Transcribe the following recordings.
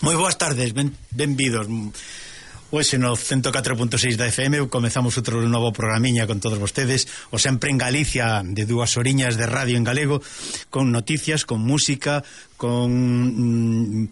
Moi boas tardes, benvidos. Hoxe no 104.6 da FM comezamos outro novo programiña con todos vostedes, o sempre en Galicia, de 2 horiñas de radio en galego, con noticias, con música, con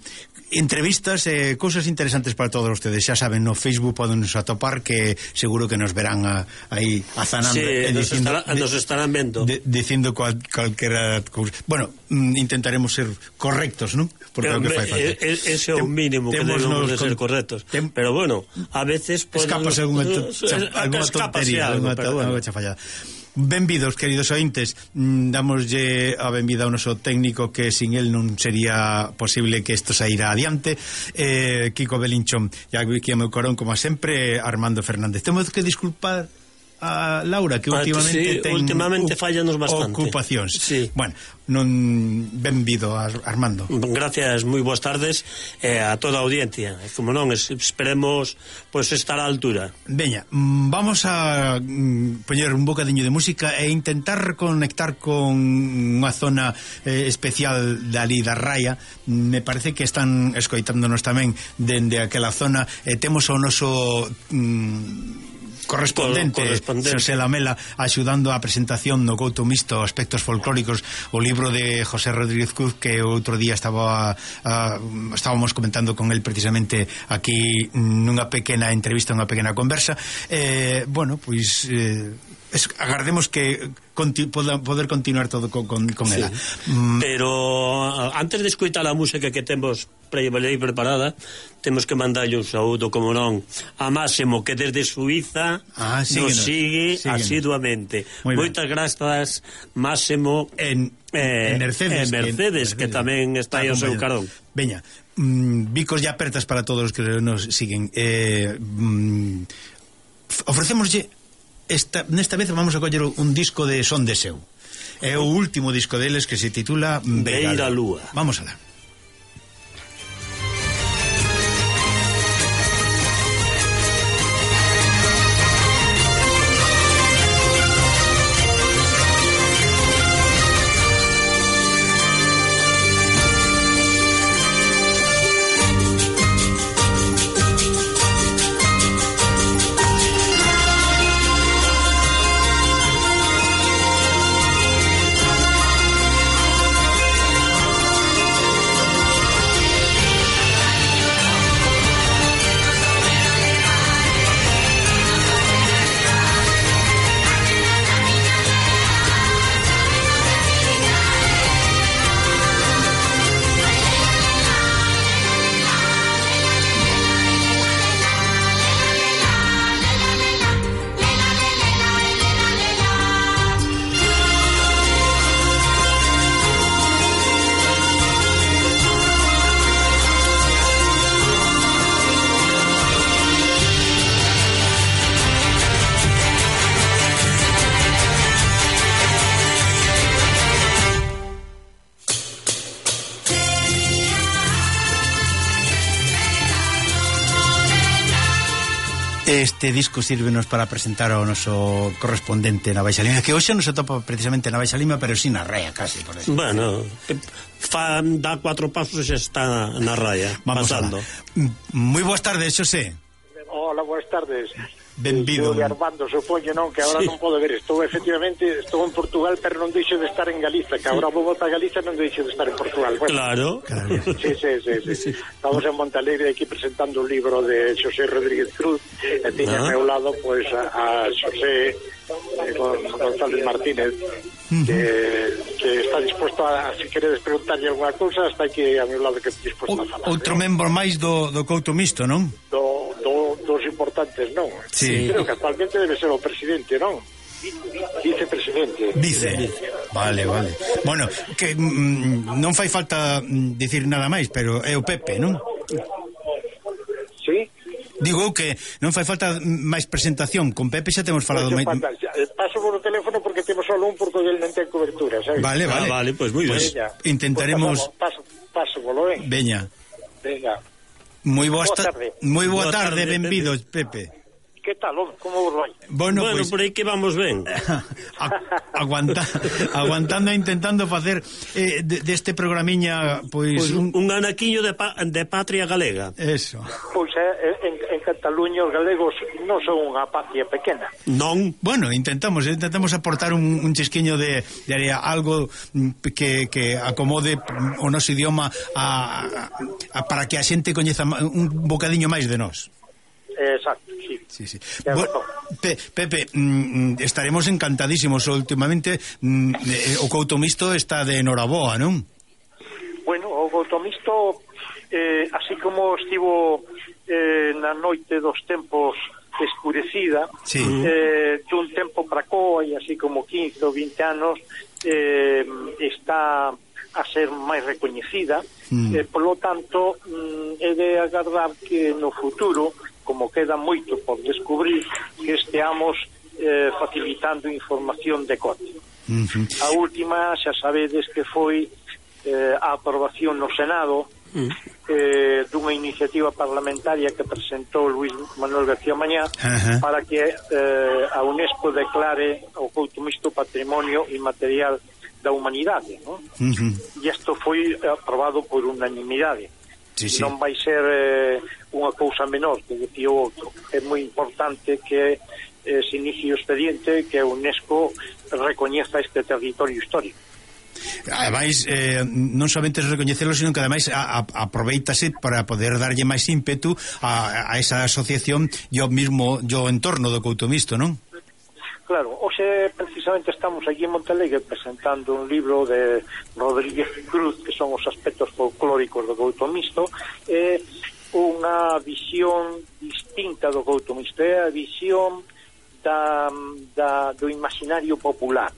entrevistas e cousas interesantes para todos ustedes. Xa saben, no Facebook podennos atopar, que seguro que nos verán aí azanando, nos estarán vendo dicindo calquera cousa. Bueno, intentaremos ser correctos, non? Porque que fai falta. Ese é o mínimo que debemos de ser correctos. Pero bueno, a veces escapas algunha tontería, algunha chafallada. Benvidos, queridos ointes. Damoslle a benvida ao noso técnico, que sin el non sería posible que isto saíra adiante, Kiko Belinchón. E aquí a meu corón, como sempre, Armando Fernández. Temos que disculpar a Laura, que últimamente fallanos bastante ocupacións. Sí. Bueno, benvido, Armando. Gracias, moi boas tardes a toda a audiencia. Como non, esperemos pois estar á altura. Veña, vamos a poñer un bocadiño de música e intentar conectar con unha zona especial dali da Raia. Me parece que están escoitándonos tamén dende aquela zona. Temos o noso correspondente Xosé Lamela axudando a presentación no Couto Misto Aspectos Folclóricos, o libro de José Rodríguez Cruz, que outro día estábamos comentando con el precisamente aquí nunha pequena entrevista, unha pequena conversa. Bueno, pois agardemos que poder continuar todo con ela. Pero antes de escoitar a música que temos preparada, temos que mandarlle un saúdo, como non, a Máximo, que desde Suiza nos sigue asiduamente. Moitas grazas, Máximo, en Mercedes, que tamén está aí ao seu carón. Veña, bicos e apertas para todos os que nos siguen. Ofrecémoslle nesta vez vamos a coller un disco de Son de Seu. É o último disco deles, que se titula Beira Lúa. Vamos alá. Este disco sírvenos para presentar ao noso correspondente na Baixa Lima, que hoxe non se topa precisamente na Baixa Lima, pero sí na Rea, casi, por eso. Bueno, dá 4 pasos e xa está na raya, pasando. Moi boas tardes, Xosé. Hola, boas tardes. Benvido. De Armando, supoño, non, que agora non podo ver. Estou en Portugal, pero non deixo de estar en Galiza, que agora vou a Galiza, non deixo de estar en Portugal. Claro. Bueno, Sí. Estamos en Montalegre aquí presentando un libro de Xosé Rodríguez Cruz, e tiña ao meu lado pois a Xosé González Martínez, que está disposto a, se queredes preguntarlle alguna cousa, está aquí a meu lado, que está disposto a falar. Outro membro máis do Couto Misto, non? Dos importantes, non? Sí. Creo que actualmente debe ser o presidente, non? Vicepresidente. Vale. Bueno, que non fai falta dicir nada máis, pero é o Pepe, non? Sí? Digo que non fai falta máis presentación. Con Pepe xa temos falado máis. Paso por o teléfono porque temos solo un, porque ele non ten cobertura, sabes? Vale, pois moi ben. Intentaremos. Paso polo, Veña. Venga. Moi boa tarde, benvidos, Pepe. Que tal, como vos vai? Bueno, pues, por aí que vamos ben. Aguantando e intentando facer deste programiña pois un anaquiño de patria galega. Eso. Pois en Cataluña os galegos non son unha patria pequena. Non. Bueno, intentamos aportar un chisquiño de algo que acomode o noso idioma para que a xente coñeza un bocadiño máis de nós. Exacto, sí. Bueno, Pepe, estaremos encantadísimos. Últimamente o Couto Misto está de enhoraboa, non? Bueno, o Couto Misto, así como estivo na noite dos tempos escurecida, sí. Dun tempo para coa, e así como 15 ou 20 anos, está a ser máis recoñecida, polo tanto, é de agardar que no futuro, como queda moito por descubrir, que esteamos facilitando información de corte. A última, xa sabedes que foi a aprobación no Senado dunha iniciativa parlamentaria que presentou Luis Manuel García Mañá para que a UNESCO declare o Couto Misto Patrimonio Inmaterial da Humanidade, non? E isto foi aprobado por unanimidade. Sí. Non vai ser unha cousa menor, que decía o outro. É moi importante que se inicie o expediente, que a UNESCO recoñeza este territorio histórico. Ademais, non somente recoñecelo, sino que ademais aproveitase para poder darlle máis ímpetu a esa asociación e ao entorno do Couto Misto, non? Claro, hoxe precisamente estamos aquí en Montalegre presentando un libro de Rodríguez Cruz, que son os aspectos folclóricos do Couto Misto, unha visión distinta do Couto Misto, é a visión do imaginario popular.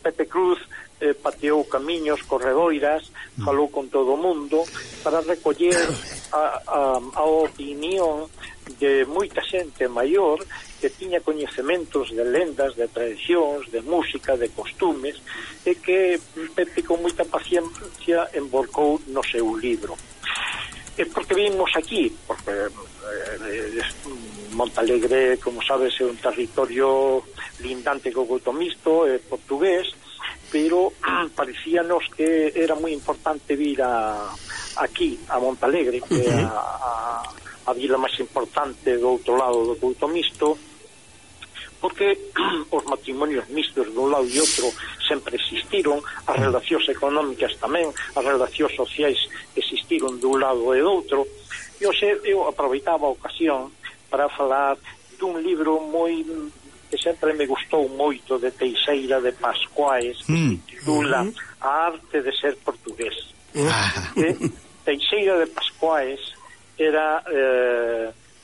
Pepe Cruz pateou camiños, corredoiras, falou con todo o mundo para recoller a opinión de moita xente maior que tiña coñecementos de lendas, de tradicións, de música, de costumes, e que Pepe con moita paciencia embolcou no seu libro. E porque vimos aquí, porque Montalegre, como sabes, é un territorio lindante co Couto Misto, é portugués, pero parecíanos que era moi importante vir aquí, a Montalegre, que é a vila máis importante do outro lado do Couto Misto, porque os matrimonios mistos dun lado e outro sempre existiron, as relacións económicas tamén, as relacións sociais existiron dun lado e do outro, e hoxe eu aproveitaba a ocasión para falar dun libro moi que sempre me gustou moito, de Teixeira de Pascuais, que se titula A arte de ser portugués. Teixeira de Pascuais era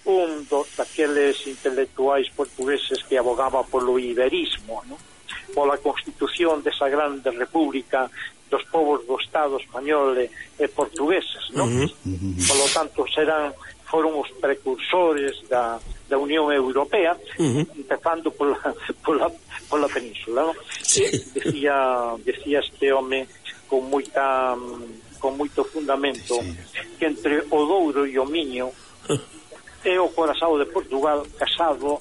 un daqueles intelectuais portugueses que abogaba polo iberismo, ¿no? Pola constitución desa grande república dos povos do Estado español e portugueses, ¿no? Polo tanto, foron os precursores da Unión Europea, empezando pola península, ¿no? Sí. Decía este home con moito fundamento, que entre o Douro e o Miño é o corazón de Portugal casado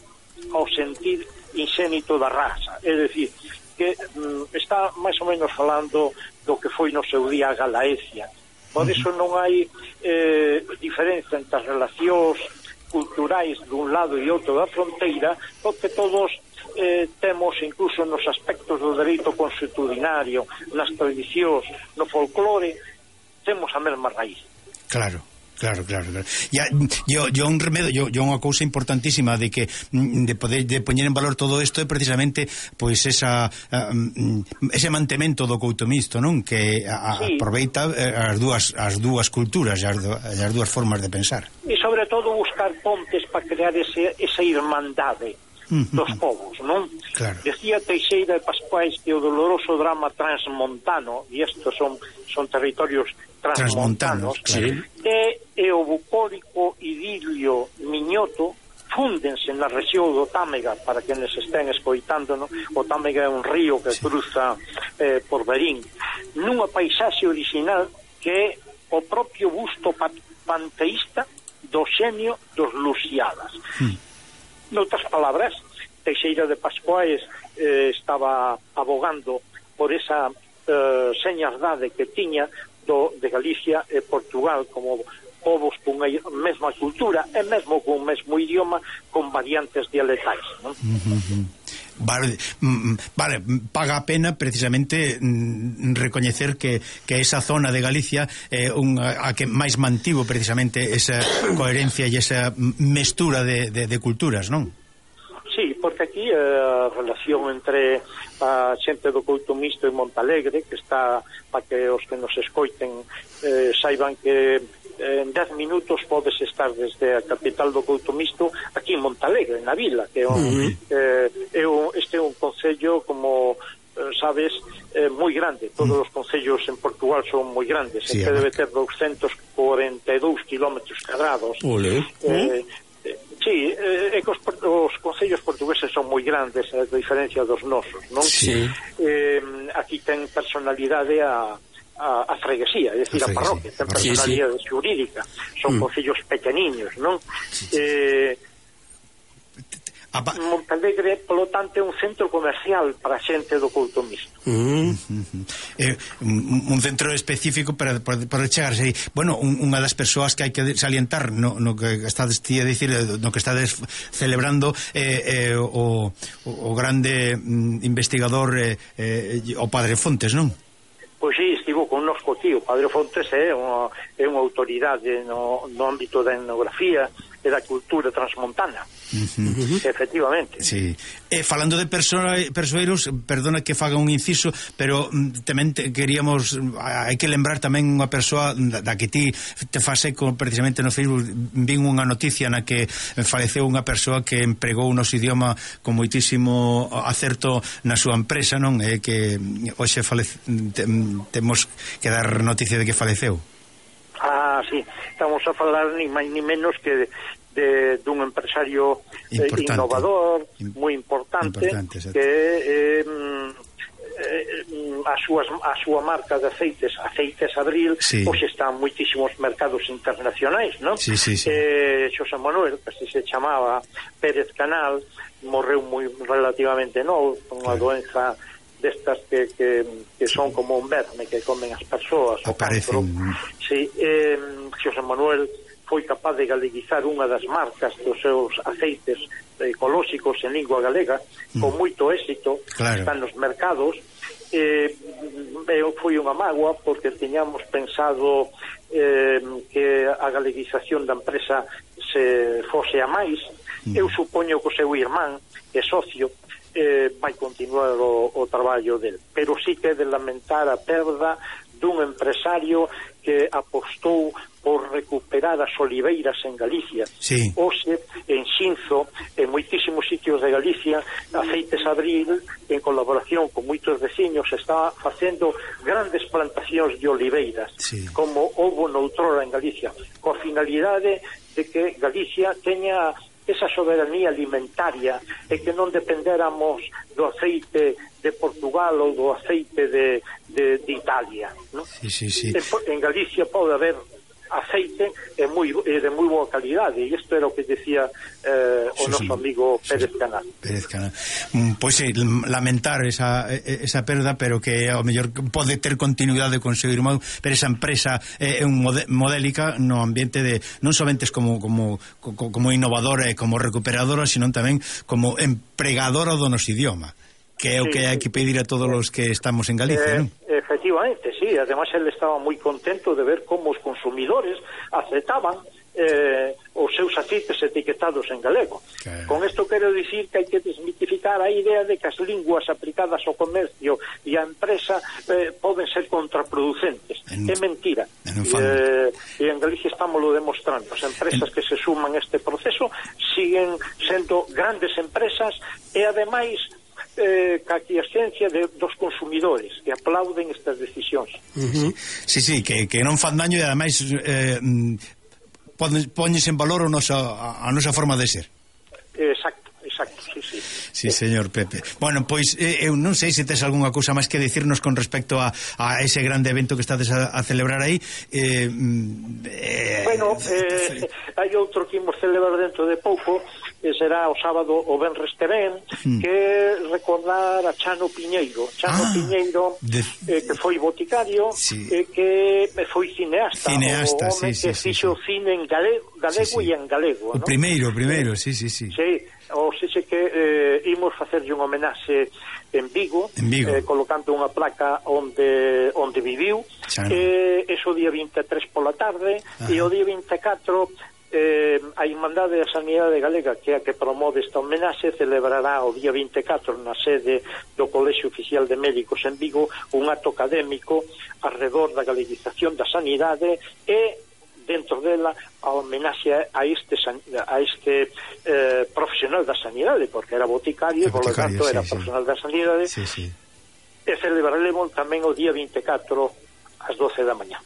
ao sentir inxénito da raza, é dicir, que está máis ou menos falando do que foi no seu día a Galaecia. Por iso non hai diferencia entre as relacións culturais dun lado e outro da fronteira, porque todos temos, incluso nos aspectos do dereito consuetudinario, nas tradicións, no folclore, temos a mesma raíz. Claro. Yo un remedio, yo unha cousa importantísima de que de poñer en valor todo isto é precisamente pois ese mantemento do coutomisto, non? Que aproveita as dúas culturas e as dúas formas de pensar. E sobre todo buscar pontes para crear esa irmandade dos povos, non? Claro. Decía Teixeira de Pascuais que o doloroso drama transmontano, e estos son territorios transmontanos, claro, e o bucólico idilio miñoto fúndense na rexión do Támega. Para quenes estén escoitándonos, o Támega é un río que cruza por Verín, nunha paisaxe original que é o propio busto panteísta do xenio dos Lusíadas. Noutras palabras, Teixeira de Pascuais estaba abogando por esa señaldade que tiña de Galicia e Portugal como povos cunha mesma cultura e mesmo cun mesmo idioma, con variantes dialectais, non? Vale, paga a pena precisamente recoñecer que esa zona de Galicia é a que máis mantivo precisamente esa coherencia e esa mestura de culturas, non? Sí, porque aquí a relación entre a xente do Coutomisto e Montalegre, que está, para que os que nos escoiten saiban que en 10 minutos podes estar desde a capital do Coutomisto aquí en Montalegre, na vila, que este é un concello, como sabes, moi grande. Todos os concellos en Portugal son moi grandes, sí, que debe ter 242 kilómetros cuadrados. Sí, é que os concellos portugueses son moi grandes, a diferencia dos nosos, non? Sí. Aquí ten personalidade a freguesía, é dicir, a parroquia, ten personalidade xurídica, son concellos pequeniños, non? Montalegre, polo tanto, é un centro comercial para a xente do Coutomisto. Un centro específico para chegarse aí. Bueno, unha das persoas que hai que salientar no que estades a dicir, no que estades celebrando o grande investigador o Padre Fontes, non? Pois sí, estivo connosco aquí. O Padre Fontes é unha autoridade no ámbito da etnografía e da cultura transmontana. Efectivamente. Sí. Falando de persoeiros, perdona que faga un inciso, pero tamén queríamos, hai que lembrar tamén unha persoa da que ti te faz eco precisamente no Facebook. Vin unha noticia na que faleceu unha persoa que empregou o noso idioma con moitísimo acerto na súa empresa, non? Que hoxe temos que dar noticia de que faleceu. Sí, estamos a falar ni máis ni menos que dun empresario innovador, moi importante, que a súa marca de aceites Abril, hoxe está en moitísimos mercados internacionais, non? Xosé Manuel, que se chamaba Pérez Canal, morreu moi relativamente novo, con unha doenza destas que son como un verme que comen as persoas, o cancro. Sí, Xosé Manuel foi capaz de galeguizar unha das marcas dos seus aceites ecolóxicos en lingua galega con moito éxito, están nos mercados. Foi unha mágoa porque tiñamos pensado que a galeguización da empresa se fose a máis. Eu supoño que o seu irmán, que é socio, vai continuar o traballo del, pero sí que é de lamentar a perda dun empresario que apostou por recuperar as oliveiras en Galicia. Hoxe, en Xinzo, en moitísimos sitios de Galicia, Aceites Abril, en colaboración con moitos veciños, está facendo grandes plantacións de oliveiras, como houbo noutrora en Galicia, coa finalidade de que Galicia teña esa soberanía alimentaria e que non dependéramos do aceite de Portugal ou do aceite de Italia, ¿no? En Galicia pode haber aceite de moi boa calidade, e isto era o que decía o noso amigo Pérez Canal. Pois lamentar esa perda, pero que ao mellor pode ter continuidade con seu irmão, pero esa empresa é modélica no ambiente de non somente como innovadora e como recuperadora, sino tamén como empregadora do noso idioma, que é o que hai que pedir a todos os que estamos en Galicia, non? Efectivamente, sí, además ele estaba moi contento de ver como os consumidores aceptaban os seus aceites etiquetados en galego. Con isto quero dicir que hai que desmitificar a idea de que as linguas aplicadas ao comercio e á empresa poden ser contraproducentes. É mentira. E en Galicia estamos lo demostrando. As empresas que se suman a este proceso siguen sendo grandes empresas e ademais ca aquiescencia dos consumidores que aplauden estas decisións. Sí, que non fan daño e ademais poñes en valor a nosa forma de ser. Exacto, sí. Sí, señor Pepe. Bueno, pois eu non sei se tes algunha cousa máis que dicirnos con respecto a ese grande evento que estades a celebrar aí. Bueno, hai outro que imos celebrar dentro de pouco, que será o sábado o venres que ven, que recordar a Chano Piñeiro. Piñeiro, que foi boticario, que foi cineasta, o home que fixo cine en galego e en galego. O primeiro, sí. Sí, ou seja que imos facerlle un homenaxe en Vigo. Colocando unha placa onde viviu, eso o día 23 pola tarde. E o día 24 a Irmandade da Sanidade Galega, que é a que promove esta homenaxe, celebrará o día 24 na sede do Colexio Oficial de Médicos en Vigo un acto académico alrededor da galeguización da sanidade e dentro dela a homenaxe a este profesional da sanidade, porque era boticario, por lo tanto era profesional da sanidade. E celebraremos tamén o día 24 ás 12 da mañá.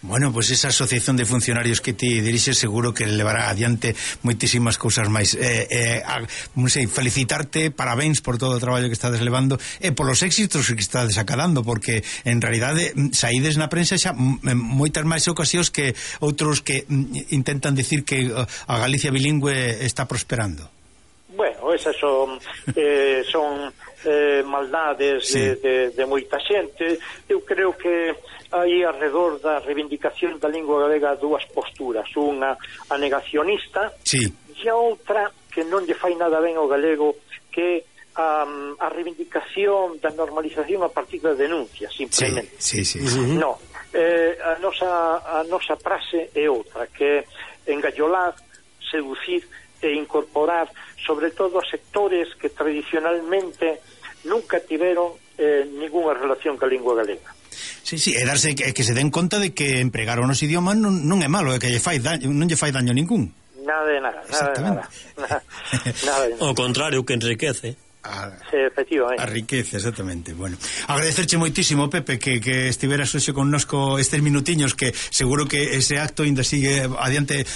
Bueno, pois esa asociación de funcionarios que ti dirixes seguro que levará adiante moitísimas cousas máis. Non sei, felicitarte, parabéns por todo o traballo que estades levando e polos éxitos que estades acadando, porque en realidade saídes na prensa xa moitas máis ocasións que outros que intentan dicir que a Galicia bilingüe está prosperando. Bueno, esas son maldades de moita xente. Eu creo que hai alrededor da reivindicación da lingua galega dúas posturas, unha a negacionista e a outra que non lle fai nada ben ao galego, que a reivindicación da normalización a partir da denuncia, simplemente. No, a nosa frase é outra, que é engallolar, seducir e incorporar sobre todo a sectores que tradicionalmente nunca tiveron ninguna relación ca lingua galega. Sí, e darse que se den conta de que empregar o noso idioma non é malo, é que non lle fai daño ningún. Nada de nada. Ao contrario, que enriquece. Efectivamente. A riqueza, exactamente. Bueno, agradecerche moitísimo, Pepe, que estiveras hoxe connosco estes minutiños, que seguro que ese acto ainda sigue adiante.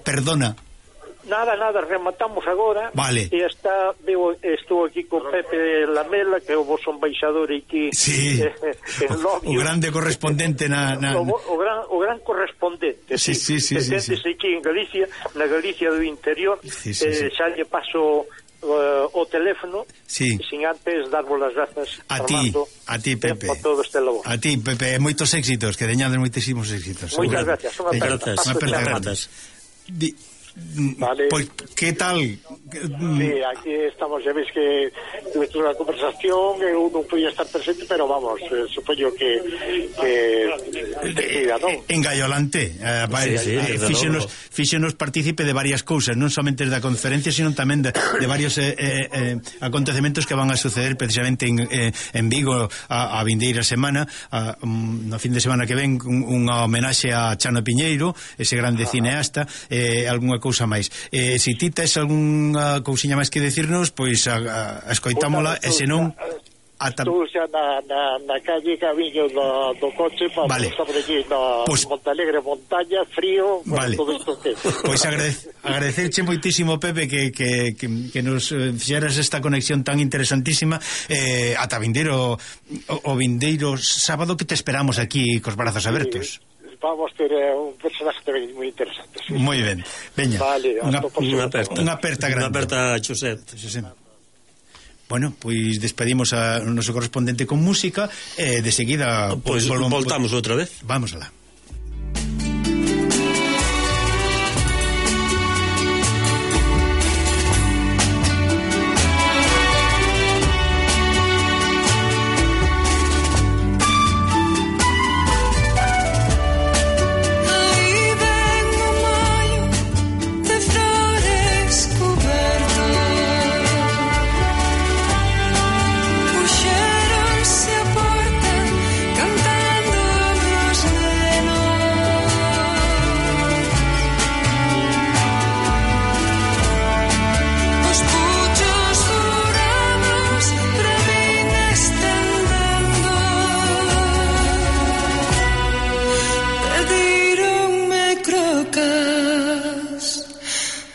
Perdona. Nada, rematamos agora. Vale. E estou aquí con Pepe Lamela, que é o vosso embaixador aquí en Lobio. O grande correspondente o gran correspondente. Sí. Aquí en Galicia, na Galicia do interior. Xa lle paso o teléfono, sin antes darvos as grazas a ti, Pepe, por todo este labor. A ti, Pepe, moitos éxitos, que deñades moitísimos éxitos. Moitas gracias. Unha aperta. Vale. Pois, que tal? Sí, aquí estamos, ya veis que tuve unha conversación, eu non podía estar presente, pero vamos, supoño que non? Engallolante. Fíxenos partícipe de varias cousas, non somente da conferencia, sino tamén de varios acontecementos que van a suceder precisamente en Vigo a vindeira semana, no fin de semana que ven, unha homenaxe a Chano Piñeiro, ese grande cineasta, algunha cousa máis. Se ti tes algunha cousiña máis que decirnos, pois escoitámola, e senón estou xa na calle camiño do coche para sobre aquí na Montalegre, montaña, frío, todo isto que... Pois agradecerche moitísimo, Pepe, que nos fixeras esta conexión tan interesantísima. Ata o vindeiro sábado, que te esperamos aquí cos brazos abertos. vamos ter un personaje tamén moi interesante. Sí. Moi ben. Veña. Vale, unha aperta grande. Unha aperta, José. Bueno, pois despedimos a noso correspondente con música e de seguida pois voltamos outra vez. Vamos alá.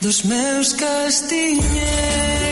Dos meus castiñeros.